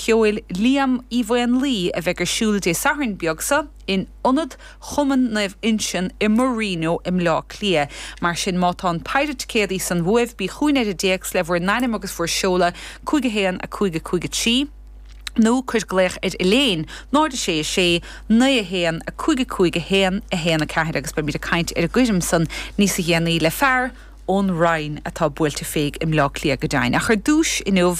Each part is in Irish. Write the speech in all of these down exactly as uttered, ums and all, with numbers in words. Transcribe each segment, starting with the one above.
cheoil Liam Uí Mhaonlaí a bheidh ar siúl Dé Sathairn beag seo in Ionad Chumann Naomh Uinseann i Marino i mBleá Cliath. Mar sin má tá an péire ticéadaí san uaibh bí chugainn ar an dtéacs le bhur n-ainm agus bhur seoladh cúig a haon a cúig a cúig a trí. Nó cuir glaoch ar Elaine náid sé sé naoi a haon a cúig a cúig a haon a haon a ceathair agus beimid ag caint ar an gcoirm san níos déanaí le fear ón Rinn atá buailte féig i mBleá Cliath go deimhin. Ach ar dtús inniu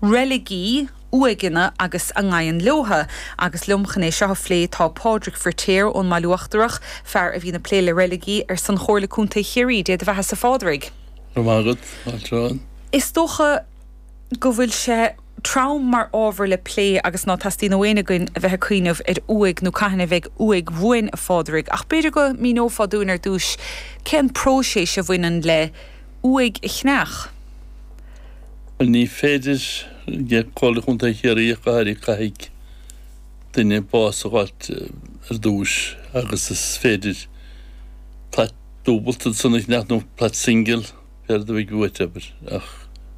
reiligí uaigheanna agus a ngabhann leotha, agus liom chun é seo a phlé tá Pádraig Firtéar ón mBaile Uachtarach, fear a bhíonn ag plé le reiligí ar son Chomhairle Contae Chiarraí, Dé do bheatha-sa a Phádraig. Go raibh maith agat, Is dócha go bhfuil sé trom mar ábhar le plé agus ná teastaíonn ó éinne againn a bheith ag cuimhneamh ar uaigh nó cathain a bheidh uaigh uainn a Phádraig, ach b'fhéidir go míneofá dúinn ar dtús cén próiseas a bhaineann le uaigh a cheannach. Bhuel ní féidir le Comhairle Chontae Chiarraí ach go háirithe caithfidh duine bás a fháilt ar dtús agus is féidir plait dúbailte ansan a cheannach nó plait singil céard a bheidh uait abair ach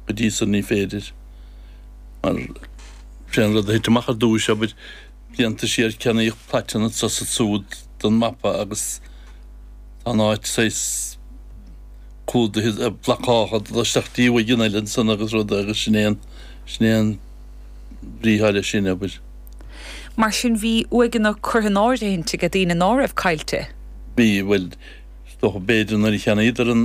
go dtí san ní féidir mar sé an rud a thit amach ar dtús abair blianta siar ceannaíodh plaiteanna anso is ansúd don mapa agus tá an áit saghas clúdaithe blocáilte dul isteach dtí uaigheanna eile ansan agus rud agus sin é an sin é an bhrí atá leis sin abair. Mar sin bhí uaigheanna curtha in áirithint ag daoine ná raibh caillte. Bhí, bhuel, is dócha b'fhéidir nuair a cheannaíodar an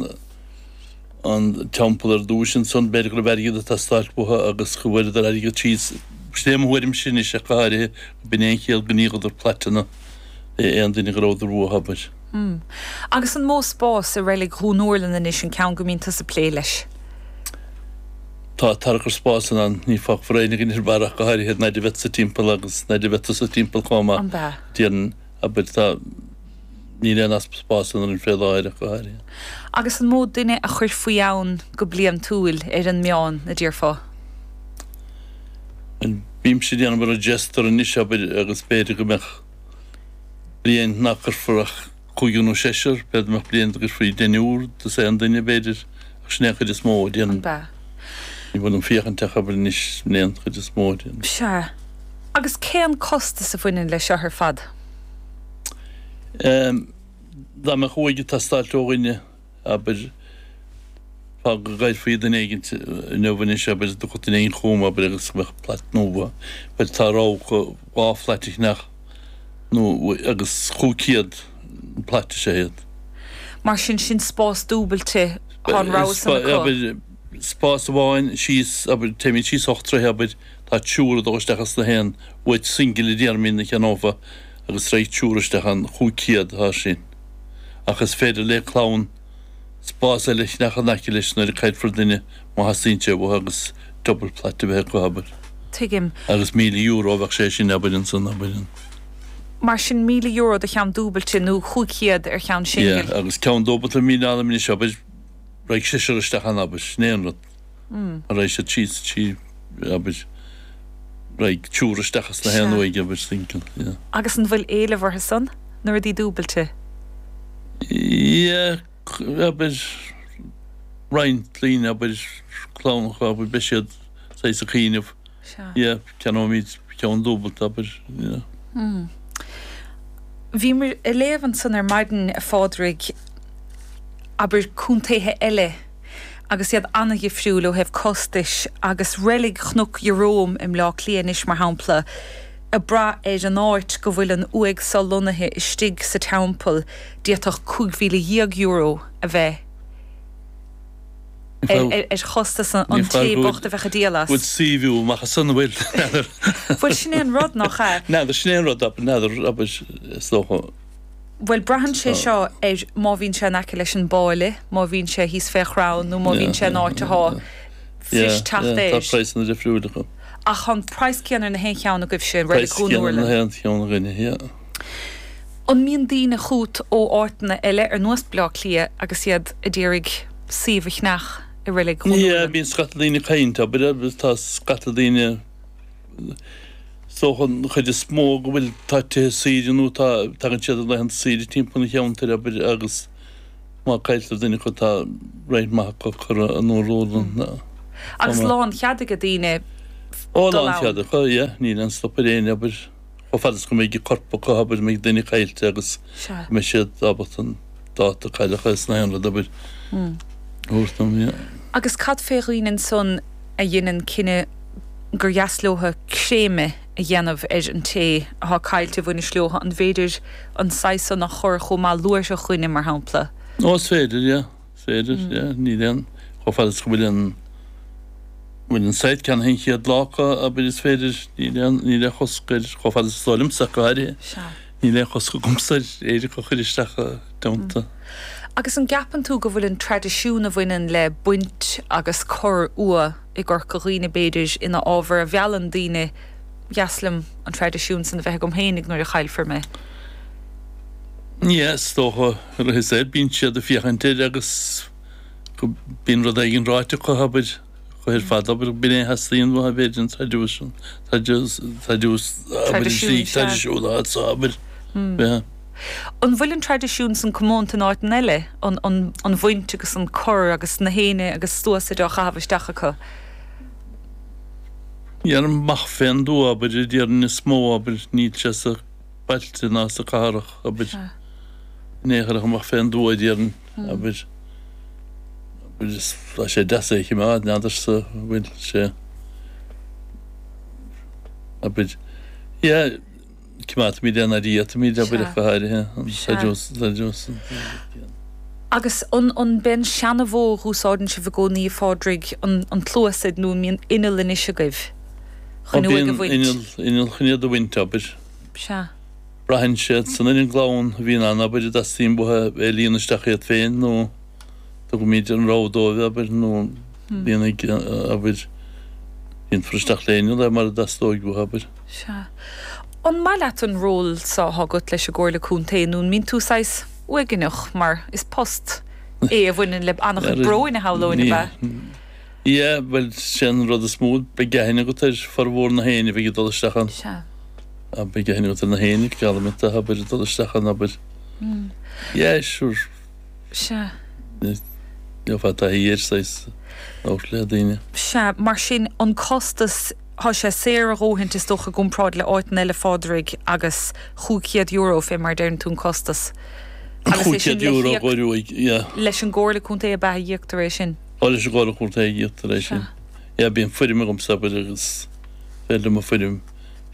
an teampall ar dtúis ansan, b'fhéidir go raibh airgead ag teastáilt uathu agus go bhfuaireadar airgead síos. Sin é mo thuairimse anois ach go háirithe, b'in é an chiall go ndíoladar plaiteanna le aon duine go rabhadar uathu, abair. Agus an mó spás i reilig Dhún Úrlann anois, an ceann go mbíonn tusa ag plé leis? Tá tarchur spásanna ann, ní fágfar éinne againn ar barr ach go háirithe nuair a bheadh sa timpeall agus nuair a bheadh tusa timpeall chomh maith. An b'ea? Déarfainn, abair, tá, níl aon easpa spáis ann orainn fé láthair ach go háirithe. Agus an mó duine a chuir faoi ann go bliantúil ar an meán, a déarfá? Bhuel, bímse ag déanamh register anois, abair, agus b'fhéidir go mbeadh bliain nach gcuirfear ach cúigear nó seisear, b'fhéidir go mbeadh bliain go gcuirfí deichniúr dos aon duine, b'fhéidir, ach sin é an chuid is mó, déarfainn. An b'ea? Ní bhfuil an féachaint ach, abair, anois, sin é an chuid is mó, déarfainn. Sea. Agus cén costas a bhaineann leis seo ar fad? Dá mbeadh uaigh ag teastáilt ó dhuine, abair, fág go gcaillfí duine éigin inniu anois, abair, dtiocfadh duine éigin chugam, abair, agus go mbeadh plait nua, bhuel, tá rogha dhá phlait a cheannach nó agus chúig chéad an plait is ea iad. Mar sin, sin spás dúbailte, tá an rogha san acu. Abair, spás amháin síos, abair, téimid síos ocht dtroithe, abair, tá triúr ag dul isteach as na haon uaigh singil a déarfaimid a cheannófá agus raghaidh triúr isteach ann, chúig chéad atá sin. Ach is féidir le clann spás eile a cheannach in aice leis nuair a caillfear duine má theastaíonn sé uathu agus double plait a bheith acu, abair. Tuigim. Agus míle euro a bheadh sé sin, abair, ansan, abair. Mar sin míle euro do cheann dúbailte nó chúig chéad ar cheann singil. Yeah, agus ceann dúbailte míle anam anois, abair, raghaidh seisear isteach ann, abair, sin é an rud. Raghaidh siad síos trí, abair, raghaidh triúr isteach as na haon uaigh, abair, single, yeah. Agus an bhfuil éileamh orthu san, na rudaí dúbailte? Yeah, abair, roinnt daoine, abair, clann acu, abair, beidh siad saghas ag cuimhneamh, yeah, ceannóimid ceann dúbailte, abair, yeah. Bhíomar ag léamh ansan ar maidin, a Phádraig, abair, contaetha eile, agus iad an-dhifriúil ó thaobh costais, agus reilig Chnoc Ieróm i mBleá Cliath anois, mar shampla, ag brath ar an áit go bhfuil an uaigh so lonnaithe istigh sa teampall, d'fhéadfadh cúig mhíle dhéag euro a bheith ar chostas an té bocht a bheadh ag díol as. Bhfuil suíomh amach as san, an bhfuil? N'fheadar. Bhuel, sin é an rud, nach ea? N'fheadar, sin é an rud, n'fheadar, abair, is dócha. Bhuel, braitheann sé seo ar má bhíonn sé in aice leis an bpáile, má bhíonn sé thíos fé chrann nó má bhíonn sé in áit atá fuirist teacht air. Tá praghsanna difriúil acu. Ach tá an praghas céanna ar na haon cheann agaibhse, Reilig Praghas Dhún céanna ar na Úrlann. haon cheann againne, yeah. An mbíonn daoine chugat ó áiteanna eile, ar nós Bleá Cliath, agus iad ag iarraidh suíomh a cheannach i Reilig Dhún Yeah, Úrlann? bíonn scata daoine ag caint, abair, agus tá scata daoine, Is dócha an chuid is mó go bhfuil, tá tithe saoire nó tá, tagann siad ar laethanta saoire timpeall an cheantair, abair, agus má cailltear duine acu tá roinnt mhaith acu curtha i nDún Úrlann. Agus lán chead ag daoine Ó dul lán ann. cead acu, yeah, níl aon stop ar éinne, abair, chomh fada is go mbeidh corp acu, abair, mbeidh duine caillte agus Sea. go mbeidh siad ábalta an dáta cailleadh is na haon rud, abair, a thabhairt dom, yeah. Agus cad fé dhaoine ansan a dheineann cinneadh gur dheas leotha créamadh a dhéanamh ar an té atá caillte a bhainis leotha, an bhféidir an saghas san a chur chomh maith luaithreach dhuine, mar shampla? Ó, is féidir, yeah, is féidir, yeah, níl aon, chomh fada is go bhfuil an, bhfuil an site ceannaithe an chéad lá acu, abair, is féidir, níl aon, níl aon chosc air, chomh fada is is dóigh liomsa ach go háirithe. Sea. Níl aon chosc agamsa ar éiric a chur isteach i dteannta. Agus an gceapann tú go bhfuil an traidisiún a bhaineann le baint agus cur uaighe i gCorca Dhuibhne b'fhéidir ina ábhar a mheallann daoine, dheas liom an traidisiún san a bheith agam féinig nuair a chaillfear mé? Yeah, is dócha, ar a saol, bíonn siad ag féachaint air agus go bíonn rud éigin ráite acu, abair, chomh ar fad, abair, b'in é a theastaíonn uathu, b'fhéidir, an traidisiún, abair, an slí Traidisiún, sea. traidisiún atá anso, abair, yeah. An bhfuil an traidisiún san comónta in áiteanna eile, an, an, an bhaint agus an cur agus na héinne agus sluasaid á chaitheamh isteach acu? Yeah, amach fén dtuath, abair, a déarfainn is mó, abair, níl sé sa bailte ná sa cathrach, abair, Sea. in aon chor ach amach fén dtuath, a déarfainn, abair, abair, is tá sé deas é a choimeád, n'fheadarsa an bhfuil sé, abair, yeah, coimeádfaimid é nuair a fhéadfaimid, abair, Sea. ach go háirithe, an Sea. traidisiún. Agus an, an b'é an seana-mhodh a úsáideann sibh i gcónaí, a Phádraig, an, an tsluasaid nó an mbíonn inneall anois agaibh Ó chun uaigh a bíonn bhaint? inneall, inneall chun iad a bhaint, abair. Sea. Braitheann siad san ar an gclann a bhíonn ann, abair, a dteastaíonn uathu é a líonadh isteach iad féin nó tugaimid an rogha dóibh, abair, nó líonfaidh, abair, líonfar isteach le inneall é mar a dteastóidh uathu, abair. Sea. An maith leat an ról so atá agat leis an gComhairle Contae nó an mbíonn tú saghas uaigneach mar is post é a bhaineann le an-chuid bróin a shamhlóinn, ab ea? Yeah, bhuel, sé an rud is mó, beidh aithne agat ar formhór na héinne a bheidh ag dul isteach ann. Sea. Ah, beidh aithne agat ar na héinne, geallaim duit, abair, ag dul isteach ann, abair. Yeah, sure. Sea. Gheofá taithí air, saghas, labhairt le daoine. Sea, mar sin an costas, tá sé saor a dhóthaint is dócha i gcomparáid le áiteanna eile, Phádraig, agus chúig chéad euro fé mar a deireann tú an costas. Agus é Chúig sin chéad le euro híoc dhóibh uaidh, yeah. leis an gComhairle Contae ab ea a íoctar é sin? Ó, leis an gComhairle Contae a íoctar é sin. Sea. Yeah, bíonn foirm agamsa, abair, agus féidir liom an foirm,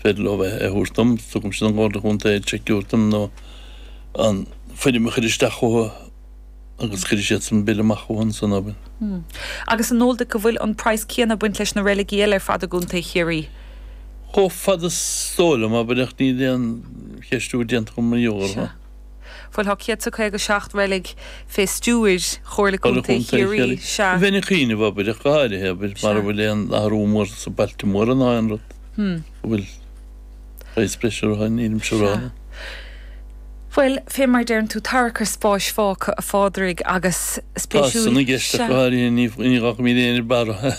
féidir leo é a thabhairt dom, tugaimse don Chomhairle Contae an seic a thabhairt dom nó an foirm a chur isteach chucu agus cuirfidh siadsan an bille amach chucu ansan, abair. Agus an eol duit go bhfuil an praghas céanna ag baint leis na reiligí eile ar fad i gContae Chiarraí? Chomh fada is dóigh liom, abair, ach níl aon cheistiú déanta agam mar gheall orthu. Sea. Bhuel, tá céad is a caoga seacht reilig fé stiúir Chomhairle Chomhairle Contae Contae Chiarraí. Chiarraí. Sea. Bheinn ag cuimhneamh, abair, ach go háirithe, abair, Sea. mara bhfuil aon athrú mór sa bailte móra ná aon rud Hmm. go bhfuil praghas breise orthu, nílimse a rá. Sea. Bhuel, fé mar deireann tú, tarrac ar spáis fágtha, a Phádraig, agus Tá spéisiúil. san i gceist ach Sea. go háirithe, ní ní fhágfaimid éinne ar barra.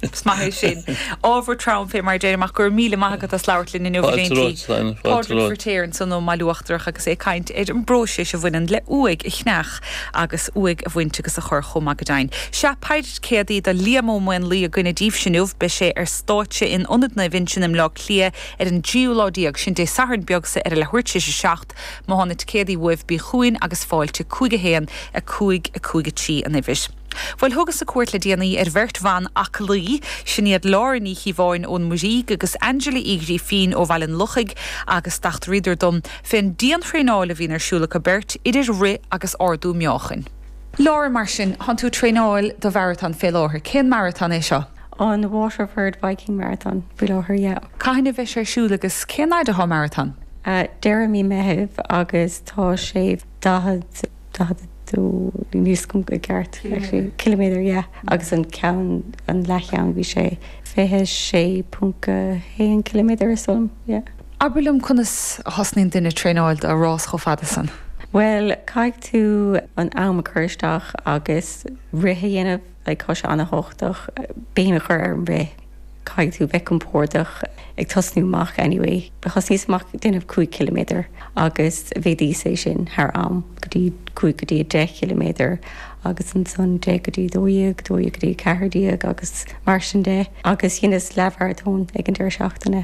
Is maith é sin. Ábhar trom fé mar deirim, ach go raibh míle maith agat as labhairt linn inniu, Fáilte Valenty. romhat, Steiner, fáilte Pádraig romhat. Firtéar ansan ó mBaile Uachtarach agus é ag caint ar an bpróiseas a bhaineann le uaigh a cheannach agus uaigh a bhaint agus a chur chomh maith go deimhin. Sea, péire ticéadaí do Liam Ó Maonlaí againne daoibhse inniu, beidh sé ar stáitse in Ionad Naomh Uinseann i mBleá Cliath ar an dtríú lá déag, sin Dé Sathairn beag sa ar a leathuair tar éis a seacht. Má tá na ticéadaí uaibh bí chugainn agus fáilte cúig a haon a cúig a cúig a trí an uimhir. Bhuel, thugas-sa cuairt le déanaí ar bheirt bhan aclaí, sin iad Lára Ní Chíobháin ón Muirígh agus Angela Uí Ghrífín ó Bhaile an Lochaigh agus d'eachtraíodar dom fén diantraenáil a bhíonn ar siúl acu beirt idir rith agus ardú meáchain. Lára, mar sin, tánn tú ag traenáil do mharatón fé láthair, cén maratón é seo? An Waterford Viking Marathon faoi láthair, yeah. Cathain a bheidh sé ar siúl agus cén fhad atá maratón? Uh, deireadh mí Mheithimh agus tá sé daichead daichead dó níos cum go ceart actually kilometer yeah agus an ceann an leathcheann bhí sé fiche sé ponc a haon kilometer is dóigh liom yeah. Abair liom conas a thosnaíonn duine traenáil do rás chomh fada san. Well, caithfidh tú an am a chur isteach agus rith a dhéanamh, like tá sé an-tábhachtach béim a chur ar an rith. Caithfidh tú bheith compordach ag tosnú amach anyway. Thosnaíos amach ag déanamh cúig kilometer agus mhéadaíos é sin thar am go dtí cúig go dtí deich kilometer agus ansan deich go dtí dó dhéag, dó dhéag go dtí ceathair déag agus mar sin de agus dheineas leathmharatón ag an deireadh seachtaine.